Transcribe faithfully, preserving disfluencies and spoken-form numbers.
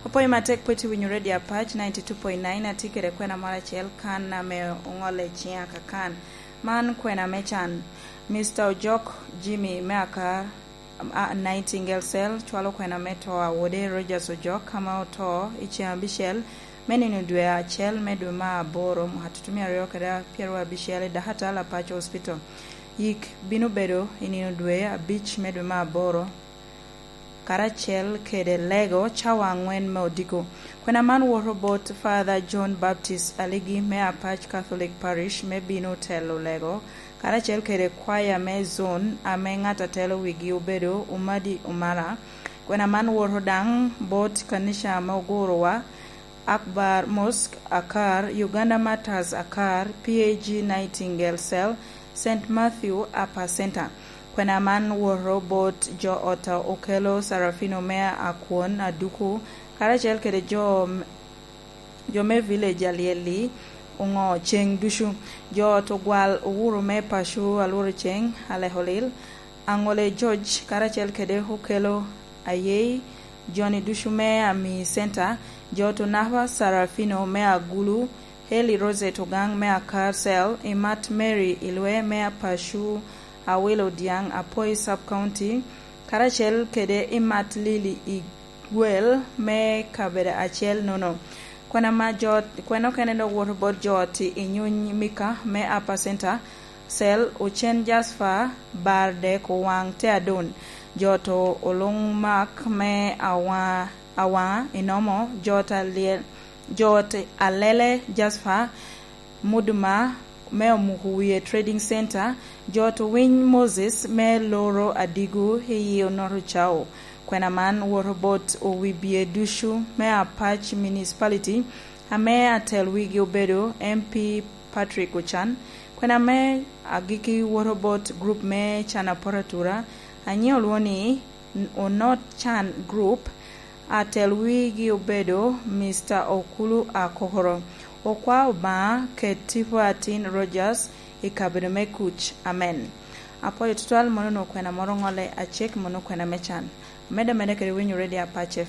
Opwoyo matek pwod itye winyo Radio Apac ninety two point nine, atye kede kwena moro acel kan ame oŋolle i ciŋa ka kan. Man kwena me can. Mister Ojok Jimmy me Akar, a, Nightingale Cell, cwalo kwena me to a wode Rogers Ojok, ame oto i ceŋ abicel me nino dwe acel me dwe me aboro, mwaka tutumia aryo kede apyer abicel i Dakatal Apac Hospital. Yik bino bedo i nino dwe abic me dwe me aboro, karacel kede lego cawa aŋwen me odiko. Kwena man woto bot Father John Baptist Aligi me Apac Catholic Parish me bino telo lego, karacel kede kwaya me zone ame ŋat a telo wigi obedo Umadi Umara. Kwena man woto daŋ bot kanica ame ogurowa, Akbar Mosque Akar, Uganda Martyrs Akar, P A G Nightingale Cell, Saint Matthew Upper Center. Kwena man woto bot jo ot a Okelo Sarafino me Akwon Aduku, karacel kede jo, jo me village Alyel-li oŋo ceŋ ducu. Jo ot ogwal owuro me paco Alworo Ceŋ, Alekolil, Aŋole George, karacel kede Okelo Ayei, joni ducu me Ami Center, jo ot Onapa Sarafino me Agulu, Heli Rosette Ogaŋ me Akar Cell, Imat Mary Ilwe me Apacu, Awilo Diaŋ, Apoi Sub County, karacel kede Imat Lili Igwel me kabedo acel nono. Kwena ma jo, kwena okene dok woto bot jo ot i Nyuny Mika me Upper Center Cell, Ocen Jasper, Bar Dek Owaŋ Teadon, jo ot Oluŋ Mak me Awa-, Awaŋa Inomo, jo ot Alyel, jo ot Alele Jasper, Muduma me Omuku Wie Trading Center, jo ot Owiny Moses me Loro Adigu i yi Onoto Cao. Kwena man woto bot owibye ducu me Apac Municipality, ame atel wigi obedo M P Patrick Ocan. Kwena me agikki woto bot grup me Can Aporatura, anyiŋ olwoŋo ni Onot Can Group, atel wigi obedo Mister Okulu Akokoro. Okwa Obaŋa ket tipo atin Rogers i kabedo me kuc. Amen. Apwoyo tutwal, mono onwoŋo kwena moro ŋolle acek, mono kwena me can. Medde ameda kede winyo Radio Apac F M.